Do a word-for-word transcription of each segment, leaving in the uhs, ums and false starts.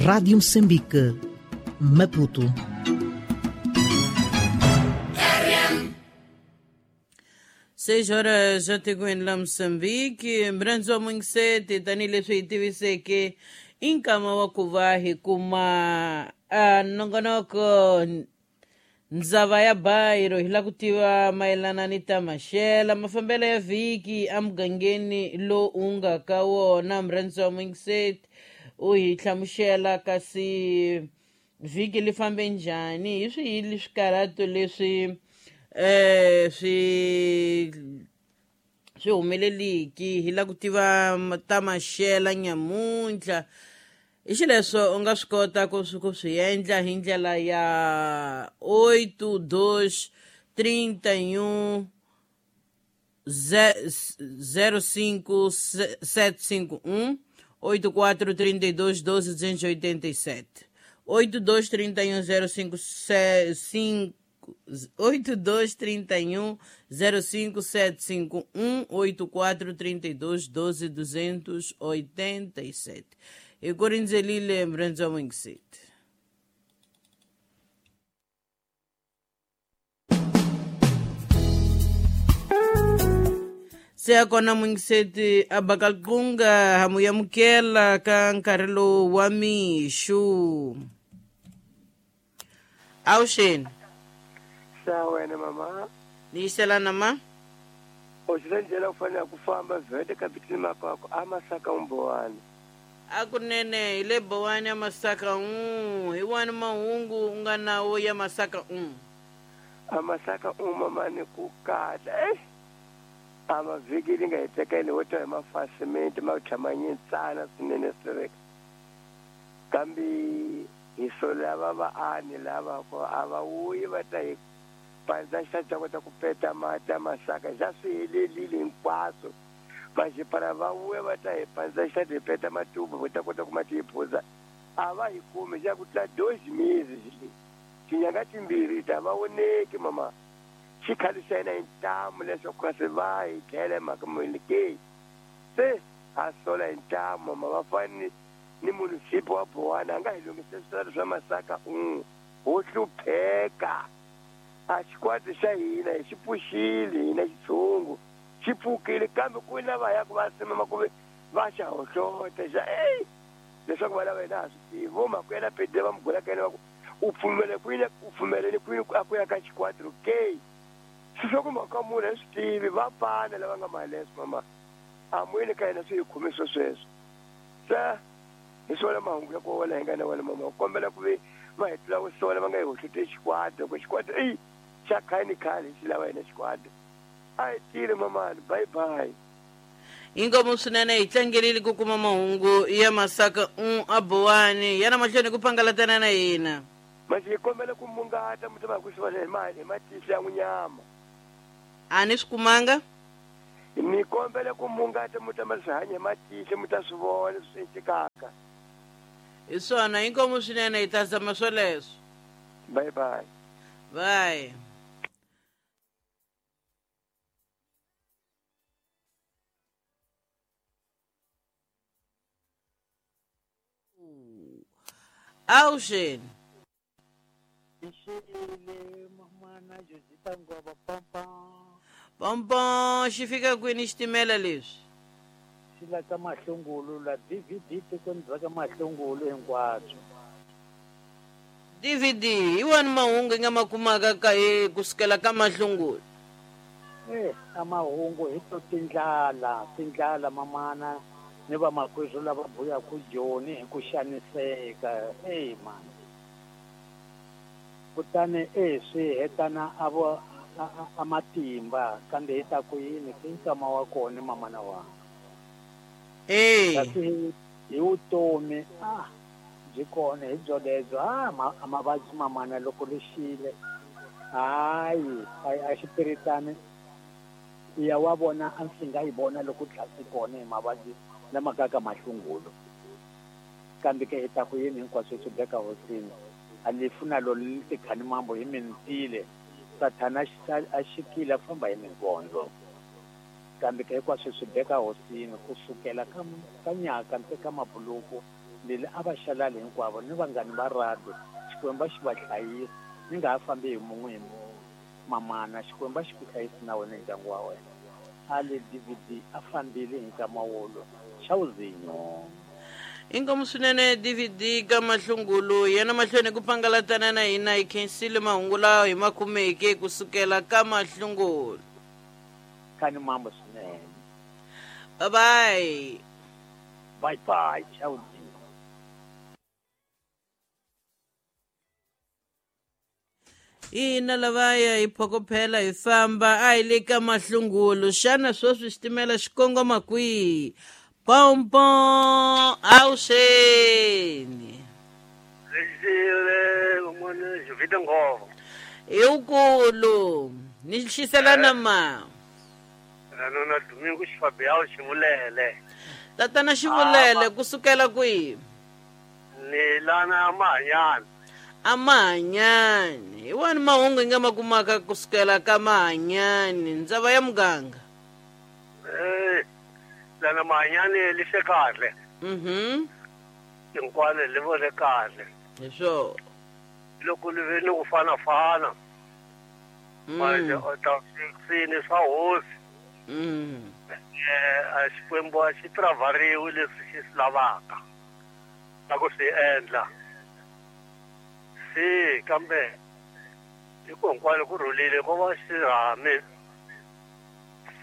Rádio Moçambique, Maputo. Seis horas já tikweni la Mozambique, mrhandzu Mungiseti tanihileswi hi tiviseke i nkama wa ku va hi kuma a nongonoko ndzava ya bayiro hi lava ku tiva mayelana ni ta maxela mafambelo ya vhiki emugangeni lowu u nga ka wona. Mrhandzu wa Mungiseti u hi hlamusela kasi vhiki li fambe njhani, hi swihi swikarhato leswi eh swi swi humeleliki. Hi lava ku tiva ta maxela nyamuntlha, hi xileswo u nga swi kota ku swi ku swi endla hi ndlela ya oito dois trinta e um zero cinco sete cinco um oito quatro trinta e dois doze duzentos e oitenta e sete oito dois trinta e um zero cinco cinco oito dois trinta e um zero cinco sete cinco um oito quatro trinta e dois doze duzentos oitenta e sete. E Corinzelile Mrenzo Mwingsit. Se a kona Mwingiseti a bakalkunga hamuyamukela ka nkarhi lowu wa mixo. Awuxeni. Sa wena mama. Ni yiselana ma? Oxile ndlela u fanele ku famba vhete kapitini makwako a masaka umbowani. A kunene hi le bowani ya masaka un hi wani mahungu u nga nawo ya masaka un. A masaka un mama ni ku kahle eh a mavhiki li nga hi tekeni wo twa hi mafasimenti ma tshama nyintsana swinene swi kambe hi so lava vaani lava ko a va wuyi va ta hi pandza xa ta kota ku peta mati ya masaka xa swi helelile hinkwaswo. Vaxipara va vuya va ta hi pandza xa ti peta matubu va ta kota ku mati hi phuza a va hi kumi xa ku tlula dois meses xi tinyanga timbirhi ta va voneki mama xikhale xa hina hi ntamu leswaku kasi va hi tlhela mhaka muni ke se a sola hi ntamu mama va fani ni munisipi wa Bowana a nga hi lunghisa switarata swa masaka un ho hlupheka a xikwati xa hina hi xi pfuxile hina xitshungu xi pfukile kambe ku na va ya ku va simama ku va xa hohlota xa ey leswaku va lava hina ha swi tivi vo makwela pede va mugula ka yena va ku u pfumele kwini u pfumeleni kwini a ku ya ka xikwatro ke swi swa ku mhaka munhu a swi tivi va pana lava nga maleswo mama a muyini ka hina swi hi khomi swo sweswo se hi swona mahungu ya ku wona hi nga na wona mama kombela ku ve va hi tlula ku sola va nga hi hohloti xikwado ku xikwado eyi xa khale ni khale xi lava hina xikwado a hi tile mamani bye bye. Inkomu swinene hi tlangerile ku kuma mahungu ya masaka un a Bowani yana mahlweni ku pangalatana na hina. Manje hi kombela ku mungata muti va ku swi vona hi mali hi matihlo ya n'winyama. A ni swi kumanga? Ni kombela ku mungata muti ma swi hanya hi matihlo mi ta swi vona swi endlekaka. Hi swona inkomu swinene hi ta zama swoleswo. Bye bye. Bye. Awuxeni. Pompom xi fika kwini xitimela leswi? Xi la ka mahlungulu la D V D tikweni bya ka mahlungulu hinkwabyo. D V D hi wani mahungu hi nga ma kumaka ka hi kusukela ka mahlungulu? Eh, a mahungu hi to tindlala, tindlala mamana ni vamakwerhu lava buyaka Joni hi ku xaniseka ey mani. Kutani e swi hetana a vo a matimba kambe hi ta ku yini ki nkama wa kona mamana wa. Eh. Kasi hi vutomi ah byi kona hi byolebyo ah a mavabyi mamana loko lexile hayi a xipiritani ya wa vona a ndzi nga yi vona loko tlhasi kona hi mavabyi lama ka ka mahlungulu kambe ke hi ta ku yini hinkwaswo swi beka hosini a lefu na lo li tikhani mambo hi mintile sathana a xikile a famba hi minkondzo kambe ke hinkwaswo swi beka hosini kusukela ka ka nyaka nte ka mabuluku Leli a va xalali hinkwavo ni vanghani va radio Xikwembu xi va hlayisa ni nga ha fambi hi mun'we hi mun'we mamana Xikwembu xi ku hlayisa na wena ndyangu wa wena a le D V D a fambile hi nkama wolo xawuzinyo. Inkomu swinene D V D ka Mahlungulu yena mahlweni ku pangalatana na hina hi khensile mahungu lawa hi ma kumeke kusukela ka Mahlungulu. Kani mambo swinene. Bye bye. Bye bye xawuzinyo. Ina lavaya hi phokophela hi famba a hi le ka Mahlungulu xana sweswi xitimela xi kongoma kwihi? Pompo awuxeni. Lexile n'wana Jovita Nghovo. Hi wukulu ni xiselana ma. Ranona Domingo Xifabiyawu Xivulele. Tatana Xivulele kusukela kwihi? Ni lana Mahanyani. Amahanyani. Hi wani mahungu hi nga ma kumaka kusukela ka Mahanyani ndzava ya muganga? Eh lana Mahanyani li se kahle. Mhm. Hinkwano li vone kahle. Hi swo. Loko li ve ni ku fana-fana. Manje u ta swini swa hosi. Mm. Eh a Xikwembu a xi travariwi leswi xi swi lavaka. Na ku swi endla. Se kambe hi ku hinkwano ku rhulile ko va xirhami.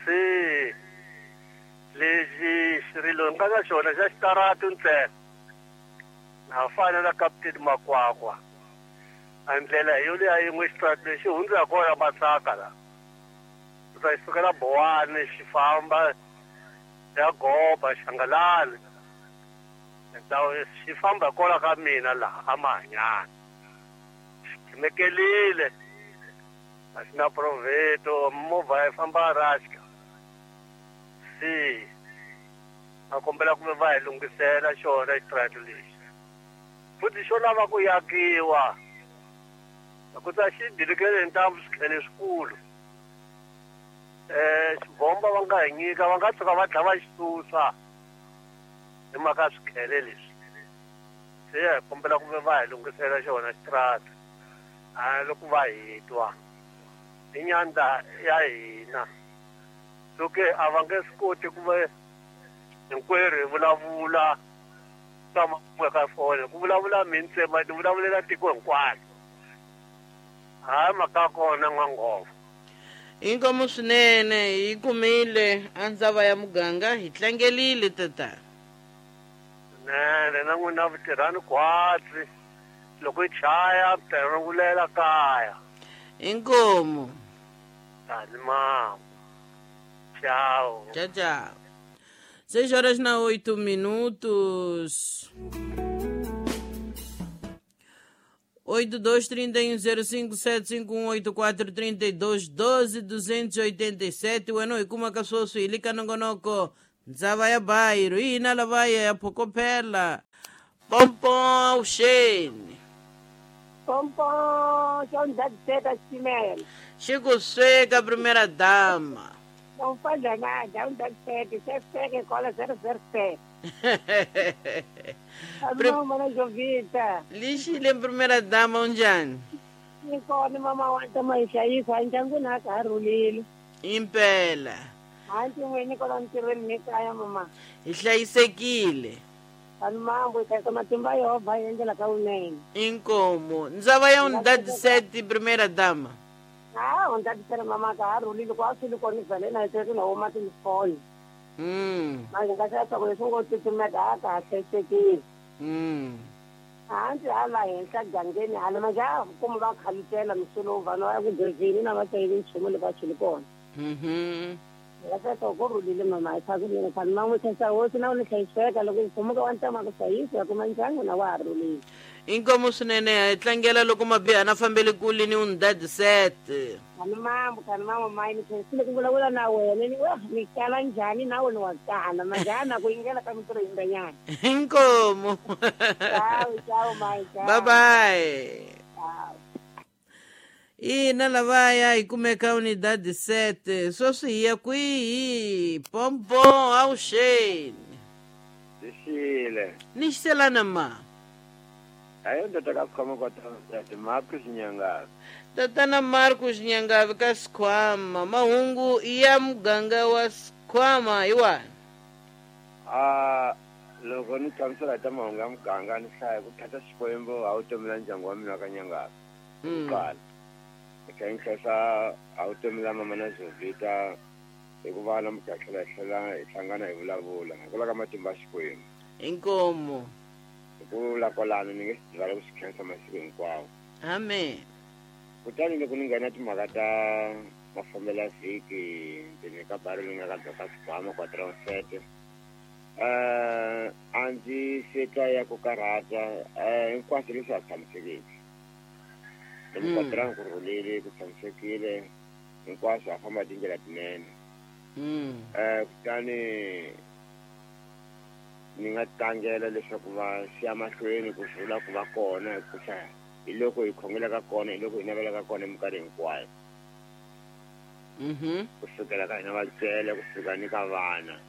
Se lexi xirilo nga na xona xa xitaratu ntsena na fana na Captain Makwakwa a ndlela hi yo leya yin'we xitaratu lexi hundza kona Masaka la u ta sukela Bowani xi famba ya Goba Xangalani ndhawu xi famba kona ka mina laha a Mahanyani xi khimekelile a xi na proveto movha yi famba raxka. Se a kombela ku va hi lunghisela xona xitaratu lexi futhi xo lava ku yakiwa ku ta xi dilikele hi ntambu swikhele swikulu eh xibomba va nga hi nyika va nga tshuka va dlaya va xi susa hi mhaka swikhele leswi. Se hi kombela ku va hi lunghisela xona xitaratu a loko va hi twa i nyanda ya hina. Soke a va nge swi koti ku va hinkwerhu hi vulavula tama ka foni ku vulavula mi ntsema ni vulavulela tiko hinkwaro hayi mhaka kona N'wanghovo. Inkomu swinene hi kumile a ndzava ya muganga hi tlangelile tata. Nene na n'wina vutirhani khwatsi loko yi chaya mi ta rungulela kaya. Inkomu. Tani mama. Tchau. Tchau, tchau. Seis horas na oito minutos. Oito, dois, trinta e um, zero, cinco, sete, cinco, um, oito, quatro, trinta e dois, doze, duzentos e oitenta e sete. Weno ikuma kasosu ilika nongonoko. Ndzava ya bairro. Ina lavaya ya phokophela. Pompom, Shane. Pompom, João da Zeta Chimel. Chico Seca, primeira dama. Não fala nada, um das sete, sete, sete, cola zero, zero, sete. Alô, mana Jovita. Lixile, primeira dama, unjani? Nikona mama wanta maisha isso, anjanguna karulile. Impela. Anti mwene kona ntirhweni nekaya mama. Hi hlayisekile. Vanhu mambo hi matimba ya Yehovha yi endlela ka vunene. Inkomo. Ndzava ya unidade primeira dama. Ah, unidade mama ka ha rhulile ku a swi li kona vhele na hi na huma tilifoni. Mm. Manje nga xa ku leswi ngo titimeta a ka ha hlayisekile. Mm. Hansi hala henhla gangeni hala manje a kuma va khalitela misulo vanhu va ya ku gezini na va tayile nchumu le va chuli kona. Mhm. Nga xa ku rhulile mama hi tshaka mina khani man'we tlhesa hosi na u ni hlayiseka loko hi khumuka wa ntama ku hlayisa kuma ndyangu na wa ha rhulile. Inkomo swinene hi tlangela loko mabiha na fambele kule ni unidade sete. Khani mambo khani mambo mayi ni khensile ku vulavula na wena ni wa ni kala njhani na wena wa kala manjhani ku yingela ka mintirho yindanyana. Inkomo. Ciao ciao mayi ciao. Bye bye. Ciao. Ina lavaya hi kumeka unidade sete sweswi hi ya kwihi? Pompom awuxeni. Lixile. Ni xiselana ma. Ayo ndoda ka sikhwama kwa tata Marcus Nyangavi. Tatana Marcus Nyangavi ka sikhwama mahungu ya muganga wa sikhwama hi wani. Ah loko ni hlamusela ta mahungu ya muganga ni hlaya ku thatha Xikwembu a wu tomela ndyangu wa mina ka Nyangavi. Kuqala. Eka nhlesa a wu tomela mama na Jovita hikuva namuntlha hi tlhela hi tlhela hi hlangana hi vulavula hikwalaho ka matimba ya Xikwembu. Inkomo. Ku vula kwalano ni nge swi rivala ku swi khensa masiku hinkwawo. Amen. Kutani loko ni nghena timhaka ta mafambelo ya vhiki ndzeni ka bari leyi nga ka ka Sikhwama kwa Transete eh a ndzi se twa ya ku karhata eh hinkwaswo leswi a tshamisekile. Loko kwa Tran ku rhulile ku tshamisekile hinkwaswo a famba tindlela tinene. Eh kutani ni nga tlangela leswaku va siya mahlweni ku rhula ku va kona ku hlaya hi loko hi khongelaka kona hi loko hi navelaka kona minkarhi hinkwayo. Mhm. Ku sukela ka hina vatswele ku fika ni ka vana.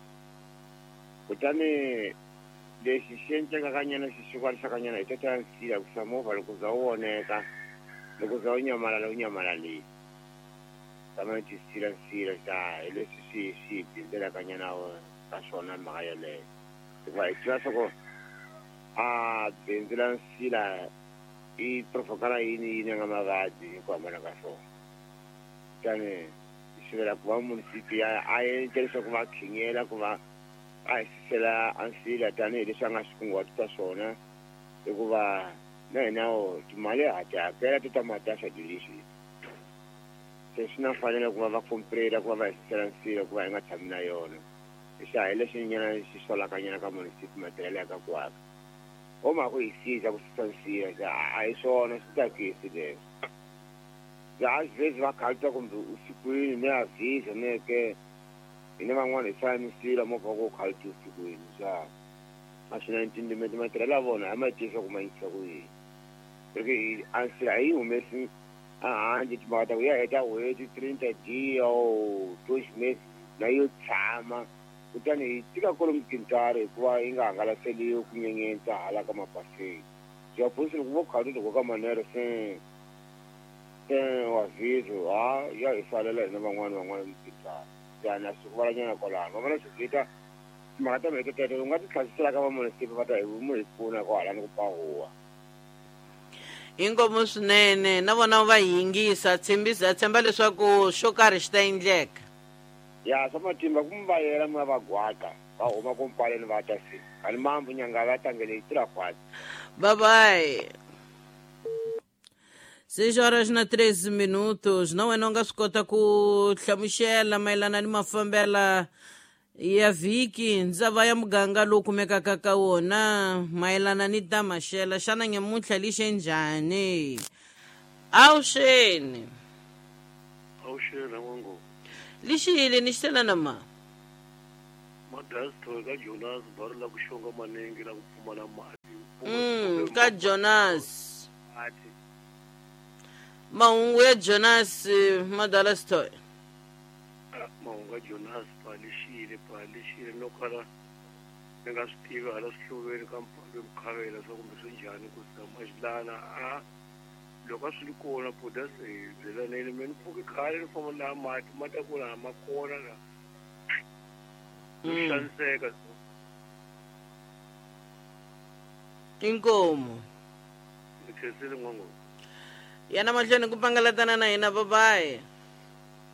Kutani lexi xi endlekaka nyana xi xukwanisaka nyana hi tata nsila ku sa movha loko za wu oneka loko za wu nyamalala wu nyamalalile. Tama ti sila nsila xa hi leswi swi swi bindzelaka nyana ka swona mhaka yeleyo. Hikuva hi tiva swa ku a bindzu la nsila i provokala yini yini nga mavabyi hi ku hambana ka swona. Kutani hi sivela ku va munisipi a a endla leswaku va khinyela ku va a hi susela a nsila tanihileswi a nga swi kunguhatisa swona hikuva na hina timali ha ti hakela ti ta mati ya swilo. Se swi na mfanelo ku va va komprela ku va va hi susela nsila ku va hi nga tshami na yona. Xa hi leswi nyana xi solaka nyana ka munisipi matirhelo ya ka ku aka. O ma ku hi siza ku susa nsila xa a hi swona swi tsakisi leswi. Ya a swi va khalta kumbe usikwini ni a vhiza ne ke hina van'wana hi sala misila movha ku khalta usikwini xa a swi na ntindimeti matirhelo ya vona a ma tivisa ku ma yisa ku yini. Ri a nsila a yi humesi a handle timhaka ta ku ya heta n'hweti trinta dia or dois meses na yo tshama. Kutani hi tika kwalomu tintswari hikuva yi nga hangalaseliwi ku nyenyentsa hala ka mapaseni. Bya phosile ku vo khalta loko ka manere se se wa vizo ha ya hi salela hina van'wana van'wana tintswari. Tani a swi ku valanyana kwalano va vona swi vita timhaka ta mheke teto u nga ti tlhasisela ka vamunisipi va ta hi mu hi pfuna kwahala ni ku pahuwa. Inkomo swinene na vona va yingisa tshembisa tshemba leswaku xo karhi xi ta endleka. Ya swa matimba ku mi va yela mi va gwaka va huma ku mpaleni va ta se ani mambu nyanga va tangele yi tirha khwatsi. Bye bye. Seis horas na treze minutos. Na wena u nga swi kota ku hlamusela mayelana ni mafambela ya vhiki ndzava ya muganga lowu kumekaka ka wona mayelana ni ta maxela xana nyamuntlha lixe njhani? Awuxeni. Awuxeni n'wango. Lixile ni xiselana ma. Madasto ka Jonas bari la ku xonga maningi la ku pfumala mati. Mm, ka Jonas. Mati. Mahungu ya Jonas Madalastoy. Mahungu ya Jonas pa lixile pa lixile no kala ni nga swi tivi hala swihluveni ka mpfalo mukhavela swa kumbe swi njhani ku tshama xilana a loko a swi ri kona buda se hi byelaneni me ni pfuki khale ni famba laha mati ma ta ku laha ma kona la ni xaniseka. Inkomo. Ni khensile n'wango. Yana mahlweni ku pangalatana na hina babayi.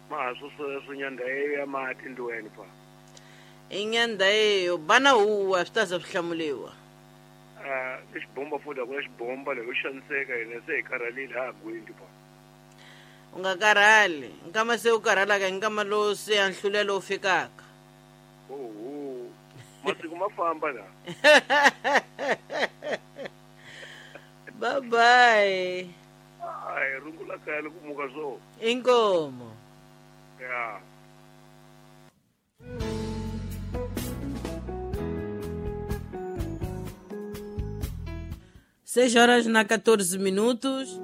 Ma ha swo sweswo nyanda ya mati ndiweni pa. I nyanda yeyo bana huwa swi ta za swi hlamuliwa. Ah i xibomba futhi a ku na xibomba loko xaniseka hina se hi karhalile ha gwindi pa. U nga karhali nkama se u karhalaka hi nkama lowu se ya nhlulelo wu fikaka. Oho masiku ma famba la. Bye bye. Ai rungula kaya loko muka swo. Inkomo. Ya. Seis horas na catorze minutos.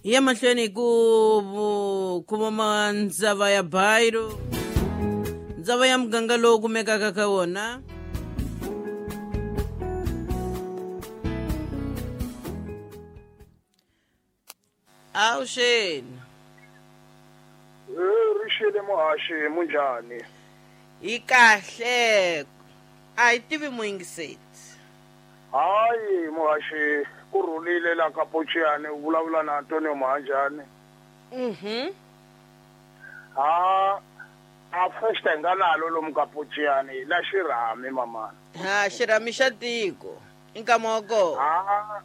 Ya mahlweni ku kuma ndzava ya Bairo. Ndzava ya muganga lowu kumekaka ka wona. Awuxeni. Rixile muhaxi munjhani? Hi kahle. A hi tivi muyingiseti. Hayi muhaxi, ku rhulile la ka Pochiyani, u vulavula na Antonio Mahanjani. Mhm. Ha a first nga nalo lomu ka Pochiyani la xirhami mamana. Ha xirhami xa tiko. I nkama wa kona. Ha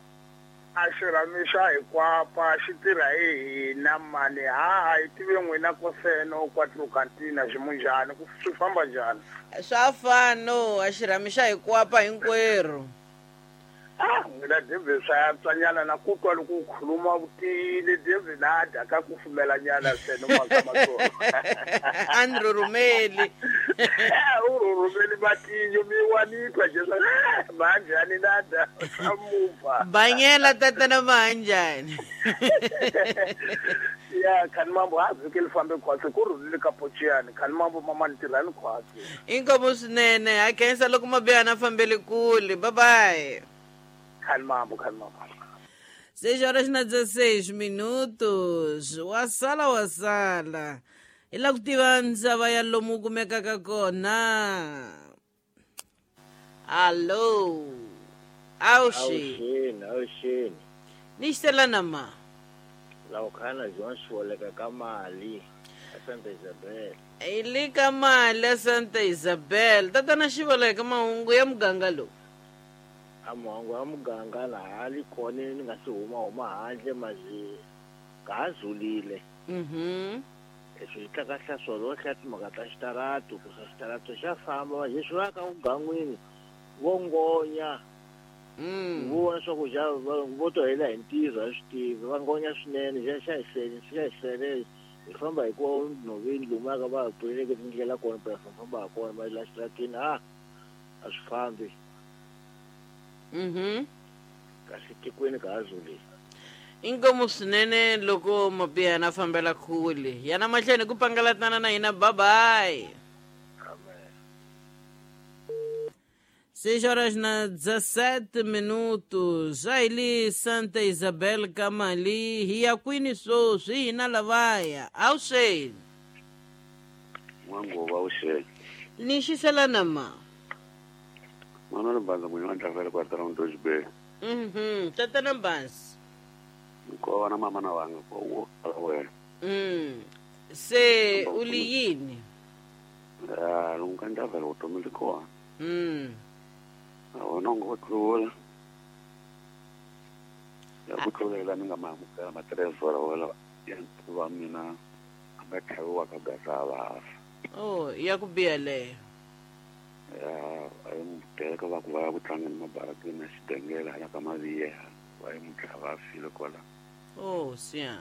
a xirhami xa hikwapa xi tirha hi hina mani. Ha hi tive n'wina koseno quattro cantina ximunjhani ku swi famba njhani? Swa fano, a xirhami xa hikwapa hinkwerhu. Ah, n'wina David swa yantswanyana na ku twa loko u khuluma vutile David na dya ka ku fumelanyana seno makamatsongo. A ni rhurhumeli. U rhurhumeli matinyo mi wa ni twa Jesu manjhani na dya swa muva. Banyela tatana manjhani. Ya khani mambo ha vhiki li fambe khwatsi ku rhulile ka Pochiyani khani mambo mama ni tirhani khwatsi. Inkomu swinene, ha khensa loko mabiyana fambele kule. Bye bye. Calma, calma. Seis horas na dezesseis minutos. Wasala wasala. Hi la ku tiva ndzava ya lomu kumekaka kona. Allo. Awuxi. Awuxini, awuxini. Ni xisela na ma. La u khana John Xiwoleka ka mali a Santa Isabel. Hi le ka mali a Santa Isabel. Tatana Xiwoleka mahungu ya muganga lowu. A mahungu ya muganga laha li kona ni nga si huma huma handle mazi ka ha zulile. Mhm. Leswi swi tlakahla swona wo hlaya timhaka ta xitarato ku sa xitarato xa famba leswi va ka mugangwini vo ngonya. Mm. Vo vona swa ku xa vo to hela hi ntirho a swi tivi va ngonya swinene xa xa hi sele xa hi sele hi famba hi ku nhoveni lomu ya ka va pfuleleke tindlela kona phela famba ha kona va la xitaratini a a swi fambi. Mhm. Kasi tikweni ka ha zulile. Inkomu swinene loko mabiyana fambela kule. Yana mahlweni ku pangalatana na hina. Bye bye. Amen. Seis horas na dezessete minutos. Aí li Santa Isabel Kamali hi ya kwini sweswi hina lavaya. Awuxeni. N'wanguva awuxeni. Ni xisela na ma. Mwana ri banza munhu wa ndlavela kwatara ntoxibeni. Mhm. Tatana Mbanzi. Kona mama na wanga ko wo kala wena. Mm. Se u li yini? Ah, lunga ndlavela vutomi li kona. Mm. A wena u ngo tlula. Ya ku tlulela ni nga ma amukela matirezora wela ya wa mina a nga tlhaviwa ka gaza va fa. Oh, ya ku biha leyo. Ya a yi n'wi teka va ku va ya ku tlangeni mabarakeni na xidengela hala ka Maviya va yi n'wi tlhava a file kwala. Oh, siya.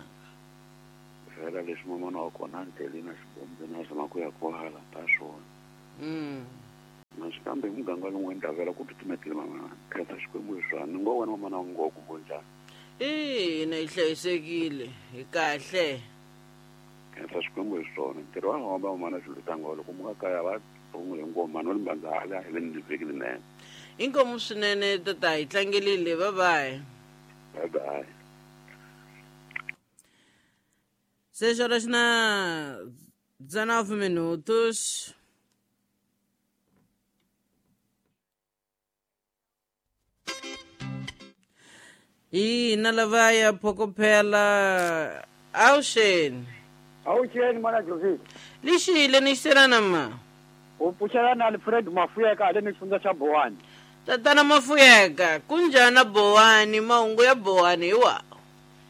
Vhela leswi mamana wa kona a ni tele na xibombe na zama ku ya kwala ta swona. Mm. Na xikambe hi muganga lowu ndlavela ku titimetile mamana khensa Xikwembu hi swona ni ngo wena mamana wa ngo ku njhani. Ina hi hlayisekile hi kahle. Khensa Xikwembu hi swona ntirho wa hamba mamana swilo tangolo ku muka kaya va tongole ngoma no limbanza hala hi le ni vhiki linene. Inkomu swinene tata hi tlangelile. Bye bye. Bye bye. Seis horas na dezenove minutos. Ina lavaya phokophela. Awuxeni. Awuxeni mana Joseph. Lixile ni xisela ma. U pfuxela na Alfred Mafuyeka le ni xifundza xa Bowani. Tatana Mafuyeka, kunjhani Bowani? Mahungu ya Bowani hi wa?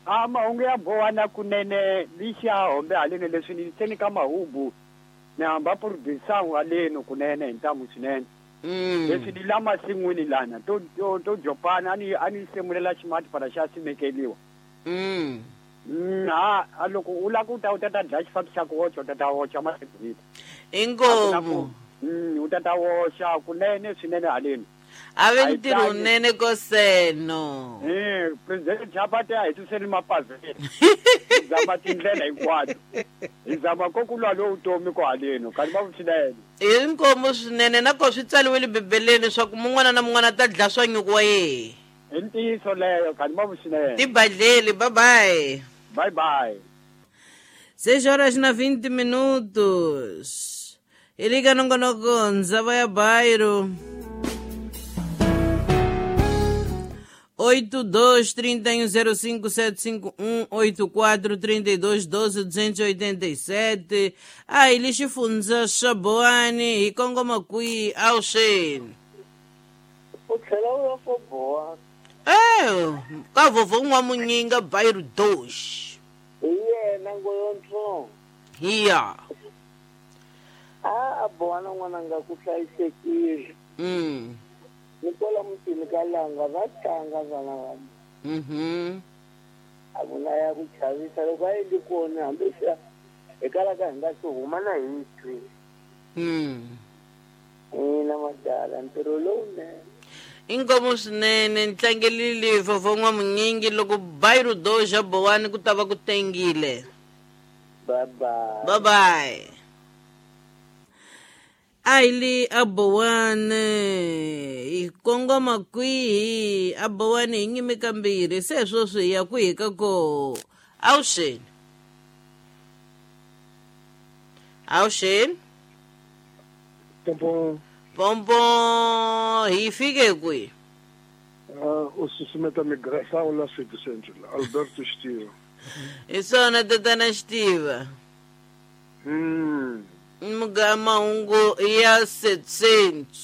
A mahungu ya Bowani kunene lixa hombe haleni leswi ni tseni ka mahungu ni hamba producer haleni kunene hi ntamu swinene. Mm. Leswi ni la masin'wini lana to to to jopana ani ani semulela ximati para xa simekeliwa. Mm. Mm, ha a loko u la ku ta u ta ta dlaya xifambi xa ku woxa u ta ta woxa masin'wini. Inkomu. Mm, u ta ta woxa kunene swinene haleni. A ve ntirho wunene koseno. Eh, president Chapati a hi tuseli mapavhele. Hi zama tindlela hinkwato. Hi zama ko ku lwa lowu vutomi ko haleni, kanti va swinene. I nkomo swinene na ko swi tsaliwile Bibeleni swa ku mun'wana na mun'wana ta dlaya swa nyuku wa yehe. I ntiyiso leyo, kanti va swinene. Tibadleli, bye bye. Bye bye. Seis horas na vinte minutos. Iliga nongonoko ndzava ya bairro. oito dois três um zero cinco sete cinco um oito quatro três dois doze duzentos e oitenta e sete. Ai lixifunza Xaboani hi kongoma kwihi awuxeni? U tlhela u ya ko boha. Eh, ka vovho n'wamunyinga bairro dois. Hi yena ngoyontsongo. Hiya. A a boha na n'wananga ku hlayisekile. Mm. Ni kwala mutini ka langa va tlanga vana va mina. Mhm. A ku na ya ku chavisa loko a endli kona hambi swi hi kalaka hi nga swi huma na hi twi. Mm. Ina madala ntirho lowunene. Inkomo swinene ntlangelile vovho n'wamunyingi loko bairro dois ya Bowani ku ta va ku tengile. Bye bye. Bye bye. Aili Abowani hi kongoma kwihi? Abowani hi nyime kambirhi se sweswi hi ya kwihi ka ko? Awuxeni. Awuxeni. Pompo. Pompo hi fike kwihi? Uh, u susumeta migração la City Central, Alberto Xitiva. Hi swona tatana Xitiva. Mm. Mga mahungu ya setecentos.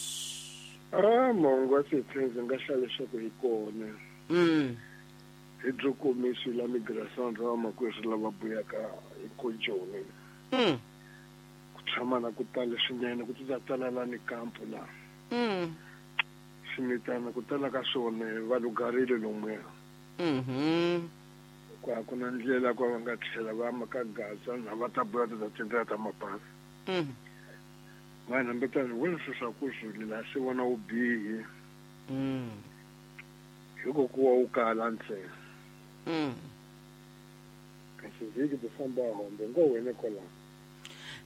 Ah, mahungu ya setecentos nga hlaya leswaku hi kona. Mm. Hi byo komisi la migração ra vamakwerhu lava buyaka hi kojoni. Mm. Ku tshama na ku tala swinene ku ta tala la ni kampo la. Mm. Swimitana ku tala ka swona va lugarile lomuya. Mhm. Ku a ku na ndlela ku va nga tlhela va ma ka Gaza na va ta buya ta tindlela ta mapasi. Mm. Vanhu hambetani vona swilo swa ku swi la swi vona vubihi. Mm. Hi ku kuwa wu kala ntsena. Mm. Kasi vhiki ti famba hombe ngo wena kwalaho.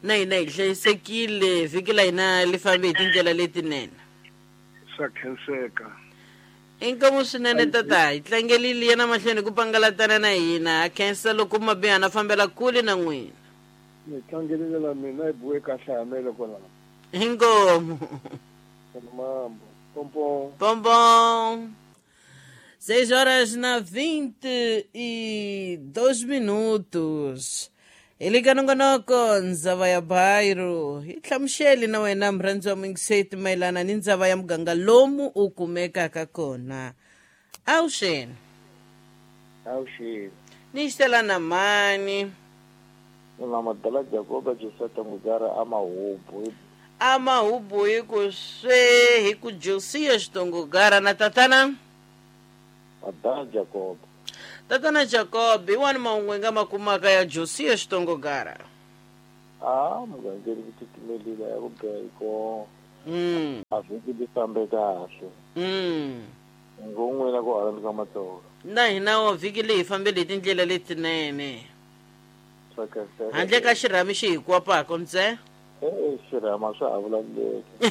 Na hina hi hlayisekile vhiki la hina li fambe hi tindlela letinene. Swa khenseka. Inkomu swinene tata, hi tlangelile yena mahlweni ku pangalatana na hina. Ha khensa loko mabihana fambela kule na n'wina. Ni tlangelile la mina hi buwe kahle hamele kwalaho. Inkomu. Mambo. Pompo. Pompo. Seis horas na vinte e dois minutos. Elika nongonoko ndzava ya bairro. Hi hlamuxeli na wena murhandzi wa mingiseti mayelana ni ndzava ya muganga lomu u kumekaka kona. Awuxeni. Awuxeni. Ni xitela na mani? Mina madala Jacoba Joseta Mugara amahubu. Amahubu hi ku swe hi ku Josiah Xitongogara na tatana? Madala Jacob. Tatana Jacob, hi wani mahungu hi nga ma kumaka ya Josiah Xitongogara? Ah, mugangeri ku titimelile ya ku beko. Mm. A vhiki li fambe kahle. Mm. Ngo n'wina ku hala ka Matsonga. Na hina wa vhiki leyi hi fambele hi tindlela letinene. Handle ka xirhami xi hi kwapaka ntse? Eh, xirhama swa ha vulavuleki.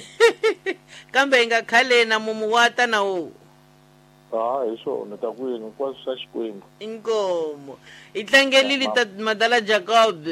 Kambe hi nga khaleni na mumu wa ta na wu. Ah, hi swona ta kwini hinkwaswo swa Xikwembu. Inkomo. Hi tlangelile ta madala Jacob.